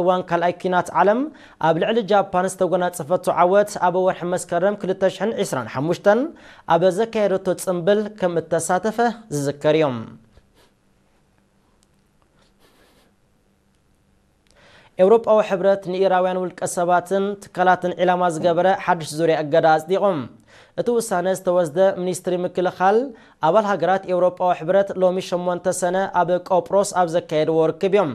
እዋን ካልኣይ ኲናት ዓለም ኣብ ልዕሊ ጃፓን ዝተጎናጸፈቶ ዓወት ኣብ ወርሒ መስከረም ክልተ ሽሕን ዕስራን ሓሙሽተን ኣብ ዘካየደቶ ጽምብል ከም እተሳተፈ ዝዝከር እዩ። ኤውሮጳዊ ሕብረት ንኢራውያን ውልቀ ሰባትን ትካላትን ዒላማ ዝገበረ ሓድሽ ዙርያ እገዳ ኣጽዲቑ። እቲ ውሳነ ዝተወስደ ሚኒስትሪ ምክልኻል ኣባል ሃገራት ኤውሮጳዊ ሕብረት ሎሚ ሸሞንተ ሰነ ኣብ ቆጵሮስ ኣብ ዘካየድዎ ርክብ እዮም።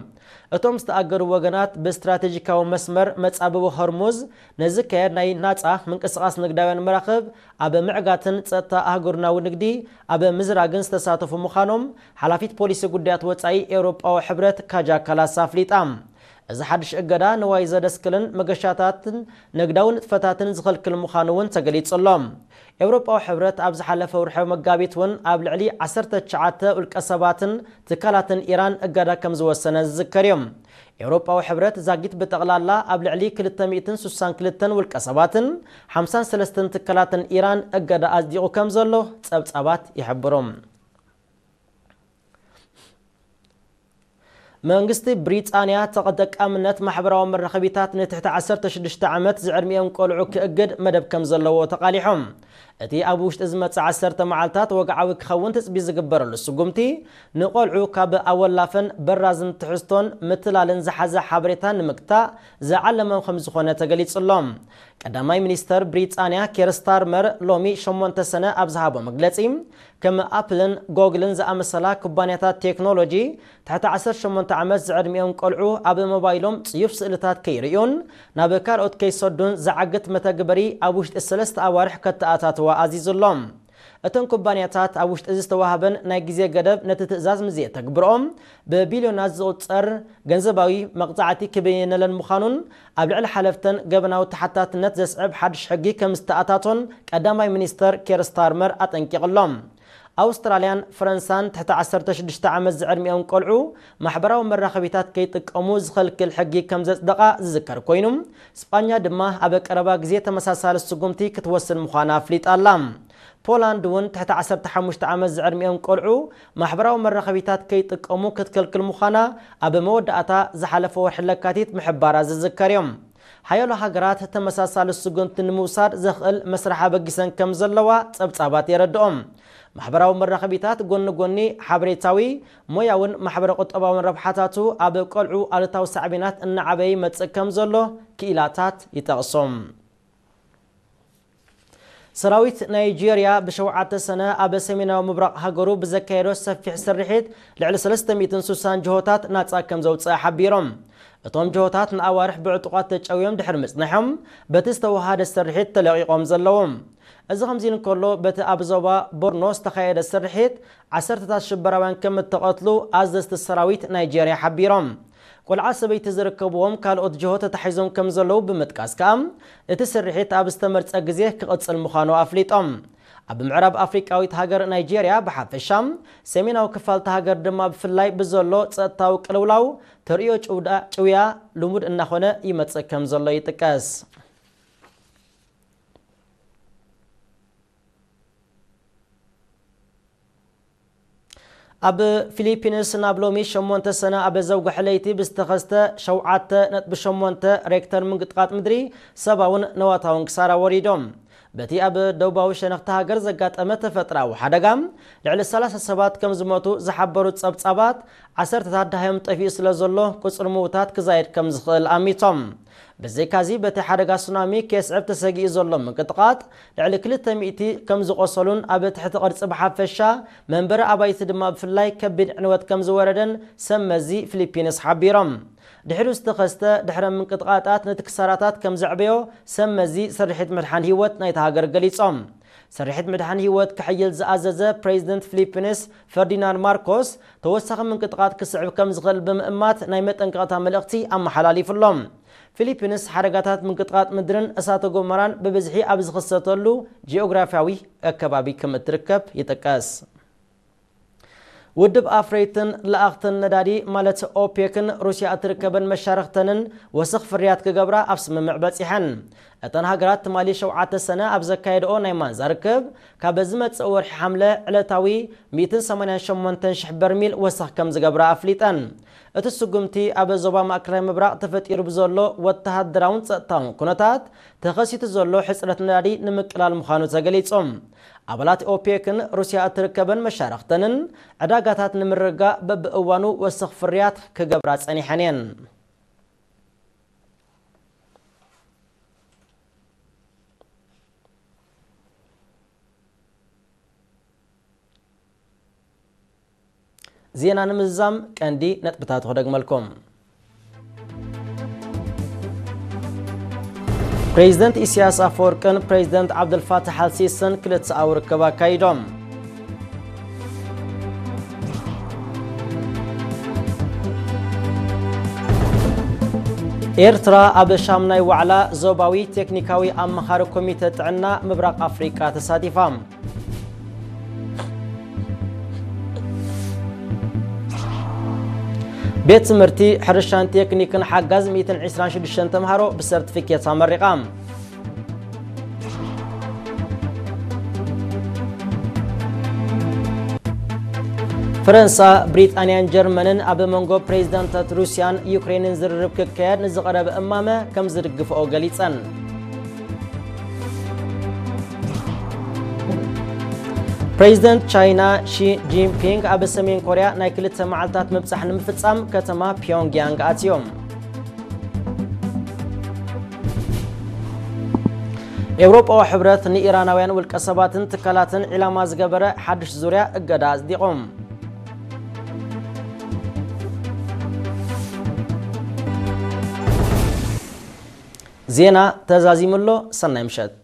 እቶም ዝተኣገዱ ወገናት ብስትራቴጂካዊ መስመር መጻብቦ ሆርሙዝ ንዝካየድ ናይ ናጻ ምንቅስቓስ ንግዳውያን መራኽብ ኣብ ምዕጋትን ጸጥታ ኣህጉርናዊ ንግዲ ኣብ ምዝራግን ዝተሳተፉ ምዃኖም ሓላፊት ፖሊሲ ጉዳያት ወጻኢ ኤውሮጳዊ ሕብረት ካጃ ካላስ ኣፍሊጣ። እዚ ሓድሽ እገዳ ንዋይ ዘደስክልን መገሻታትን ንግዳዊ ንጥፈታትን ዝኸልክል ምዃኑ እውን ተገሊጹ ኣሎ። ኤውሮጳዊ ሕብረት ኣብ ዝሓለፈ ወርሒ መጋቢት እውን ኣብ ልዕሊ ዓሰርተ ትሽዓተ ውልቀ ሰባትን ትካላትን ኢራን እገዳ ከም ዝወሰነ ዝዝከር እዩ። ኤውሮጳዊ ሕብረት ዛጊት ብጠቕላላ ኣብ ልዕሊ ክልተ ሚእትን ስሳን ክልተን ውልቀ ሰባትን ሓምሳን ሰለስተን ትካላትን ኢራን እገዳ ኣጽዲቑ ከም ዘሎ ጸብጻባት ይሕብሩ። መንግስቲ ብሪጣንያ ተጠቃምነት ማሕበራዊ መራኸቢታት ንትሕቲ ዓሰርተ ሽዱሽተ ዓመት ዝዕድሚኦም ቆልዑ ክእግድ መደብ ከም ዘለዎ ተቓሊሖም። እቲ ኣብ ውሽጢ ዝመጽእ ዓሰርተ መዓልታት ወግዓዊ ክኸውን ትጽቢት ዝግበረሉ ስጉምቲ፣ ንቆልዑ ካብ ኣወላፈን በራዝን ትሕዝቶን ምትላልን ዝሓዘ ሓበሬታ ንምግታእ ዝዓለመ ከም ዝኾነ ተገሊጹ ኣሎ። ቀዳማይ ሚኒስተር ብሪጣንያ ኬር ስታርመር ሎሚ ሸሞንተ ሰነ ኣብ ዝሃቦ መግለጺ፣ ከም ኣፕልን ጎግልን ዝኣመሰላ ኩባንያታት ቴክኖሎጂ፣ ትሕቲ ዓሰርተ ሸሞንተ ዓመት ዝዕድሚኦም ቆልዑ ኣብ ሞባይሎም ጽዩፍ ስእልታት ከይርእዩን ናብ ካልኦት ከይሰዱን ዝዓግት መተግበሪ ኣብ ውሽጢ ሰለስተ ኣዋርሕ ከተኣታትዋ ኣዚዙ ኣሎ። እተን ኩባንያታት ኣብ ውሽጢ እዚ ዝተዋህበን ናይ ግዜ ገደብ ነቲ ትእዛዝ ምስ ዘየተግብርኦም ብቢልዮናት ዝቑጸር ገንዘባዊ መቕጻዕቲ ክብየነለን ምዃኑን ኣብ ልዕሊ ሓለፍተን ገበናዊ ተሓታትነት ዘስዕብ ሓድሽ ሕጊ ከም ዝተኣታቶን ቀዳማይ ሚኒስተር ኬር ስታርመር ኣጠንቂቑ ኣሎ። ኣውስትራልያን ፈረንሳን ትሕቲ ዓሰርተ ሽዱሽተ ዓመት ዝዕድሚኦም ቆልዑ ማሕበራዊ መራኸቢታት ከይጥቀሙ ዝኸልክል ሕጊ ከም ዘጽደቓ ዝዝከር ኮይኑ፣ ስጳኛ ድማ ኣብ ቀረባ ግዜ ተመሳሳሊ ስጉምቲ ክትወስድ ምዃና ኣፍሊጣ ኣላ። ፖላንድ እውን ትሕቲ ዓሰርተ ሓሙሽተ ዓመት ዝዕድሚኦም ቆልዑ ማሕበራዊ መራኸቢታት ከይጥቀሙ ክትከልክል ምዃና ኣብ መወዳእታ ዝሓለፈ ወርሒ ለካቲት ምሕባራ ዝዝከር እዮም። ሓያሎ ሃገራት ተመሳሳሊ ስጉምቲ ንምውሳድ ዘኽእል መስርሕ ኣበጊሰን ከም ዘለዋ ጸብጻባት የረድኦም። ማሕበራዊ መራኸቢታት ጎኒ ጎኒ ሓበሬታዊ፣ ሞያውን ማሕበረ ቁጠባውን ረብሓታቱ ኣብ ቆልዑ ኣሉታዊ ሳዕቤናት እናዓበየ ይመጽእ ከም ዘሎ ክኢላታት ይጠቕሶም። ሰራዊት ናይጄርያ ብሸውዓተ ሰነ ኣብ ሰሜናዊ ምብራቕ ሃገሩ ብዘካየዶ ሰፊሕ ስርሒት ልዕሊ ሰለስተ ሚእትን ስሳን ጅሆታት ናጻ ከም ዘውጽአ ሓቢሮም። እቶም ጅሆታት ንኣዋርሕ ብዕጡቓት ተጨውዮም ድሕሪ ምጽንሖም በቲ ዝተወሃደ ስርሒት ተለቒቖም ዘለዉ። እዚ ከምዚ እንከሎ በቲ ኣብ ዞባ ቦርኖ ዝተኻየደ ስርሒት ዓሰርተታት ሽበራውያን ከም እተቐትሉ ኣዘዝቲ ሰራዊት ናይጄርያ ሓቢሮም። ቆልዓ ሰበይቲ ዝርከብዎም ካልኦት ጅሆ ተታሒዞም ከም ዘለዉ ብምጥቃስ ከኣ እቲ ስርሒት ኣብ ዝተመርጸ ግዜ ክቕጽል ምዃኑ ኣፍሊጦም። ኣብ ምዕራብ ኣፍሪቃዊት ሃገር ናይጄርያ ብሓፈሻ፣ ሰሜናዊ ክፋልቲ ሃገር ድማ ብፍላይ ብዘሎ ጸጥታዊ ቅልውላው ተርእዮ ጭውዳ-፣ ጭውያ ልሙድ እናኾነ ይመጽእ ከም ዘሎ ይጥቀስ። ኣብ ፊሊፒንስ ናብ ሎሚ ሸሞንተ ሰነ ኣብ ዘውግሐ ለይቲ ብዝተኸስተ ሸውዓተ ነጥቢ ሸሞንተ ሬክተር ምንቅጥቃጥ ምድሪ ሰብኣውን ነዋታውን ክሳራ ወሪዶም። በቲ ኣብ ደቡባዊ ሸነኽቲ ሃገር ዘጋጠመ ተፈጥራዊ ሓደጋ ልዕሊ ሰላሳ ሰባት ከም ዝሞቱ ዝሓበሩ ጸብጻባት፣ ዓሰርተታት ደሃዮም ጠፊኡ ስለ ዘሎ ቁጽሪ ምዉታት ክዛየድ ከም ዝኽእል ኣሚቶም። ብዘይካዚ በቲ ሓደጋ ሱናሚ ከየስዕብ ተሰጊኡ ዘሎ ምንቅጥቃጥ ልዕሊ ክልተ ሚእቲ ከም ዝቖሰሉን ኣብ ትሕቲ ቅርጺ ብሓፈሻ መንበሪ ኣባይቲ ድማ ብፍላይ ከቢድ ዕንወት ከም ዝወረደን ሰብ መዚ ፊሊፒንስ ሓቢሮም። ድሕሪኡ ዝተኸስተ ድሕረ ምንቅጥቃጣት ነቲ ክሳራታት ከም ዘዕበዮ ሰብ መዚ ስርሒት ምድሓን ህይወት ናይታ ሃገር ገሊጾም። ስርሒት ምድሓን ህይወት ክሕይል ዝኣዘዘ ፕሬዚደንት ፊሊፒንስ ፈርዲናንድ ማርኮስ ተወሳኺ ምንቅጥቃጥ ክስዕብ ከም ዝኽእል ብምእማት ናይ መጠንቀቕታ መልእኽቲ ኣመሓላሊፉ ኣሎ። ፊሊፒንስ ሓደጋታት ምንቅጥቃጥ ምድርን እሳተ ጎመራን ብብዝሒ ኣብ ዝኽሰተሉ ጂኦግራፊያዊ ኣከባቢ ከም እትርከብ ይጥቀስ። ውድብ ኣፍረይትን ለኣኽትን ነዳዲ ማለት ኦፔክን ሩስያ እትርከበን መሻርኽተንን ወሰኽ ፍርያት ክገብራ ኣብ ስምምዕ በጺሐን። እተን ሃገራት ትማሊ ሸውዓተ ሰነ ኣብ ዘካየድኦ ናይ ማንዛ ርክብ፣ ካብ ዝመጽእ ወርሒ ሓምለ ዕለታዊ ሚእትን ሰማንያን ሸሞንተን ሽሕ በርሚል ወሰኽ ከም ዝገብራ ኣፍሊጠን። እቲ ስጉምቲ ኣብ ዞባ ማእከላይ ምብራቕ ተፈጢሩ ብዘሎ ወተሃደራውን ጸጥታውን ኩነታት ተኸሲቱ ዘሎ ሕጽረት ነዳዲ ንምቅላል ምዃኑ ተገሊጹ። ኣባላት ኦፔክን ሩስያ እትርከበን መሻርኽተንን ዕዳጋታት ንምርግጋእ በብእዋኑ ወሰኽ ፍርያት ክገብራ ጸኒሐን እየን። ዜና ንምዝዛም ቀንዲ ነጥብታት ክደግመልኩም። ፕሬዚደንት ኢሳያስ ኣፈወርቅን ፕሬዚደንት ዓብደልፋታሕ ኣልሲስን ክልተኣዊ ርክብ ኣካይዶም። ኤርትራ ኣብ ሻምናይ ዋዕላ ዞባዊ ቴክኒካዊ ኣማኻሪ ኮሚተ ጥዕና ምብራቕ ኣፍሪቃ ተሳቲፋ። ቤት ትምህርቲ ሕርሻን ቴክኒክን ሓጋዝ ሚእትን ዕስራን ሽዱሽተን ተምሃሮ ብሰርቲፊኬት ኣመሪቓ። ፈረንሳ፣ ብሪጣንያን ጀርመንን ኣብ መንጎ ፕሬዚዳንታት ሩስያን ዩክሬንን ዝርርብ ክካየድ ንዝቐረበ እማመ ከም ዝድግፍኦ ገሊጸን። ፕሬዚደንት ቻይና ሺ ጂንፒንግ ኣብ ሰሜን ኮርያ ናይ ክልተ መዓልታት ምብጻሕ ንምፍጻም ከተማ ፒዮንግያንግ ኣትዮም። ኤውሮጳዊ ሕብረት ንኢራናውያን ውልቀ ሰባትን ትካላትን ዒላማ ዝገበረ ሓድሽ ዙርያ እገዳ ኣጽዲቑ። ዜና ተዛዚሙ ኣሎ። ሰናይ ምሸት።